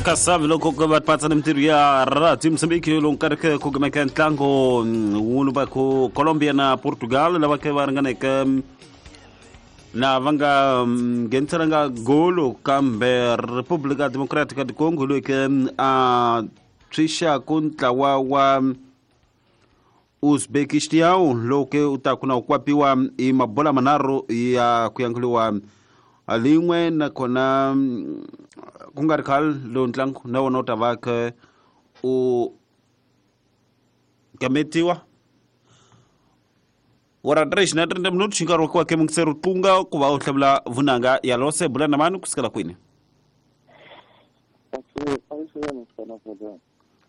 Kasavi loko ku va patsa ni mintirho ya Radio Mozambique lowu nkarhi ke ku kumeka ntlango wunu va ku Colombia na Portugal lava ke va ringaneke na va nga ngheniselanga golo kambe Republika Democratica du Congo loyi ke a tshwixaku ntlawa wa Uzbekistan lowu ke u ta ku na u kwapiwa hi mabola manharhu ya ku yanguliwa lin'we nakona ku nga ri khale lowu ntlangu na wona u ta va khe u gametiwa wora 3 na 30 minutos hi nkarhi wa ku va ke mungiseri tlunga ku va u hlamula vunanga ya lose bula na mani kusukela kwini?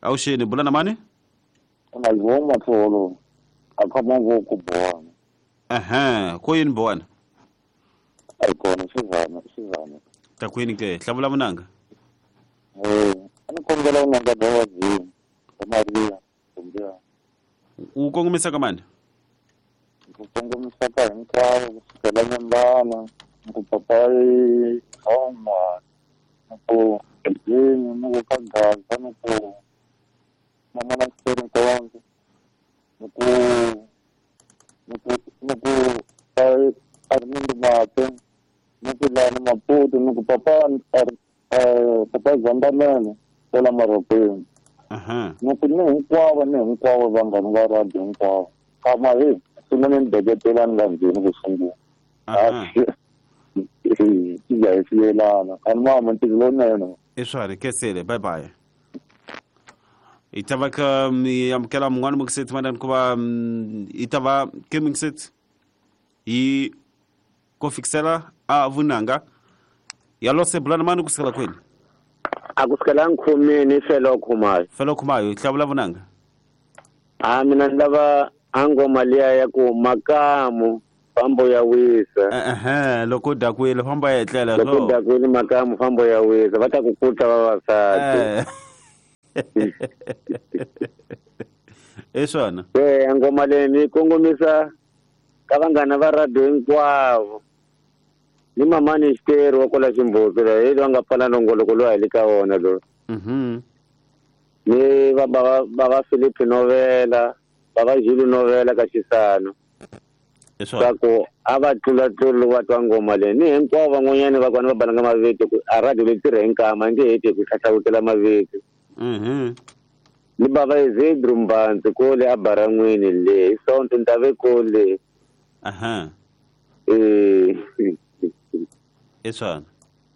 Awuxeni, bula na mani? Unazoma tholo akhama ngoku bwana. Ehe, ko yini bwana? Ayikona xivana xivana. Ta kwini ke? Hlamula vunanga. A ni kombela vunanga bya vadzini Maria kumbe U kongomisa ka mani? Ku kongomisa ka hinkwavo kusukela Nyembana, ku papai Thoma, ku Jini, ni ku ka Gaza, ni ku mama na Xitori Nkonzo, ni ku ni ku ni ku Armindo Mate, ni ku lani Maputo, ni ku papa papa Zandamene kwala Maropeni. Ni ku ni hinkwavo vanghani va radio hinkwavo. Kama hi sungule ni beketelani la ndzeni ku sungula. Hi ya hi siyelana. Ani mama ntirho lowunene. I swari kesele, bye bye. I ta va ka mi amukela mun'wana mukiseti manani ku va i ta va ke mukiseti hi ko fikisela a vunanga ya lose bulana mani kusukela kwini? A kusukela nkhumini felo khumayo. Felo khumayo hlamula vunanga. A mina ni lava a ngoma liya ya ku makamu fambo ya wisa. Ehe, loko dakwile fambo ya etlela. Loko dakwile makamu fambo ya wisa va ta ku kuta vavasati. I swona. Ngoma leyi ni kongomisa ka vanghana va radio hinkwavo. Ni mamani Xiteri wa kwala Ximbuti loyi hi loyi a nga pfala nongoloko lowu a hi le ka wona loyi. Ni va bava Philip Novela, bava Jules Novela ka Xisano. Swa ku a va tlula-tluli loko va twa ngoma leyi. Ni hinkwavo van'wanyana va kona va balanga mavito ku a radio leyi tirha hi nkama a nge heti hi ku hlahlawutela mavito. Ni bava Ezedru Mbandzi kole a Baran'wini le hi Sonto ni ta ve kole. I swona.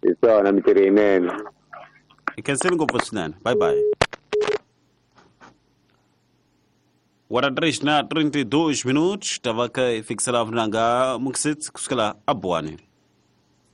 Hi swona mintirho yinene. Hi khensile ngopfu swinene. Bye bye. Wara 3 na 32 minutos, tava ka fikisela vunanga mukiseti kusukela a Buwani.